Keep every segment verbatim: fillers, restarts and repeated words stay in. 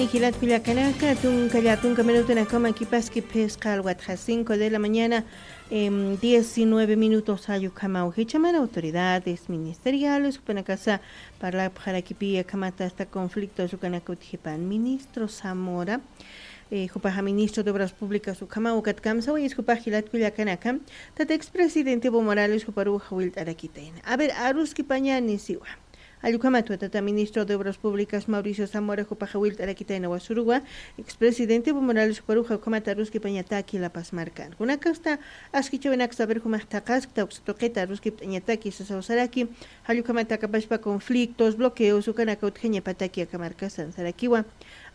Jilat kullakanaka, tunka llatunka minutunakama kipaski phisqa alwatxa cinco de la mañana, em, diecinueve minutos. Jall ukhamaw jichhamar autoridades ministeriales jupanakasa parlapxarakipi akhamata hasta conflictos ukanaka utjipan ministro Zamora, eh, jupaxa ministro de Obras Públicas ukhamaw ukat kamsawayis jupax jilat kullakanaka, tata expresidente Evo Morales juparuw jawillt'arakitayna. A ver, aruskipañani siwa. Jall ukhamatwa tata ministro de Obras Públicas Mauricio Zamora jupaxa jawillt'arakitayna wasuruwa, expresidente Evo Morales juparuxa ukhamata aruskipañataki La Paz markan. Kunakasta askichawinaksa a ver jumax thaqaskta uksa tuqita aruskipt'añataki sasaw saraki, jall ukhamata akapachpa conflictos, bloqueos ukanaka utjañapataki aka markasan sarakiwa.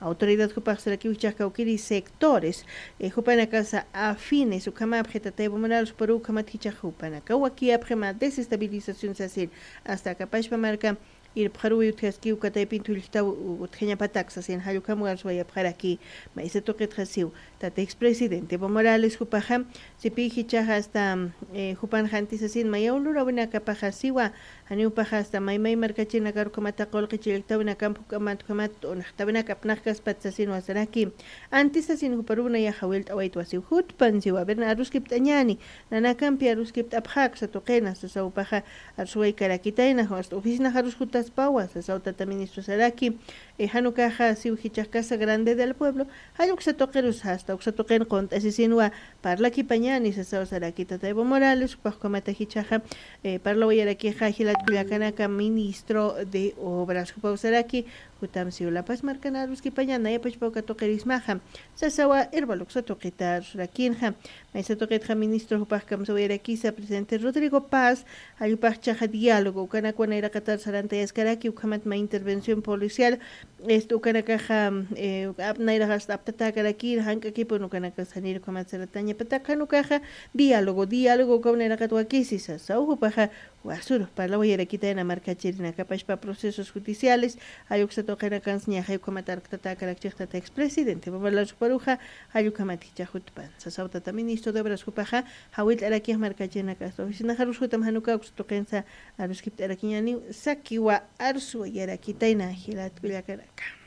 Autoridad jupax sarakiw jichhax kawkiri sectores, eh, jupanakasa afines ukhamapxi tata Evo Morales juparuw ukhamat jichhax jupanakaw wakiyapxi mä desestabilización sasin, hasta akapachpa marka irpxaruwi utjaskiw kataypin thullktaw utjañapatak sasin, jall ukham arswayapxaraki. Maysa tuqitxa siw, tata expresidente Evo Morales jupaxa, sipi jichhax hasta, eh, jupanxa anti sasin mayaw lurawinakapaxa siwa, janiw jupaxa hasta maymay markachirinakar ukhamata qullqi chillktawinakamp juk'amat ukhamat t'unxtawinak apnaqkaspat sasinwa saraki. Anti sasin juparuw nayax jawillt'awaytwa siw, jutpan siwa, a ver, aruskipt'añani, nanakampi aruskipt'apxä uksa tuqina sasaw jupaxa, arswaykarakitayna, hasta oficinax arus jutaspawa sasaw tata ministro saraki. Eh, jan ukaxa siw jichhax Casa Grande del Pueblo, jall uksa tuqirus hasta uksa tuqin qunt'asisinwa parlakipañani sasaw saraki tata Evo Morales, jupax ukhamata jichhaxa, eh, parlawayarakixa jilat kullakanaka ministro de Obras jupaw saraki, jutam siw La Paz markan aruskipaña nayapachpa uka tuqirismaxa sasawa, irpal uksa tuqita arsurakinxa. Maysa tuqitxa ministro jupax kamsawayarakisa presidente Rodrigo Paz, jall jupax jichhaxa diálogo ukanakwa nayraqatar sarantayaskaraki, ukhamat mä intervención policial, este, ukanakaxa, eh, ap-, nayraqasta aptatäkarakir, jank'akipun ukanakas janir ukhamat saratañapatak, jan ukaxa diálogo, diálogo ukaw nayraqat wakisi sasaw jupaxa, wasur parlawayarakitayna markachirinakapachpa procesos judiciales, jall uksa tuqinakans ñaxay ukhamat arktatäkarakchix tata expresidente Evo Morales juparuxa, jall ukhamat jichhax jutpan sasaw tata ministro de Obras jupaxa, jawillt'arakix markachirinakasta oficinax arus jutam jan uka uksa tuqinsa aruskipt'arakiñaniw sakiwa, arswayarakitayna jilat kullakanaka.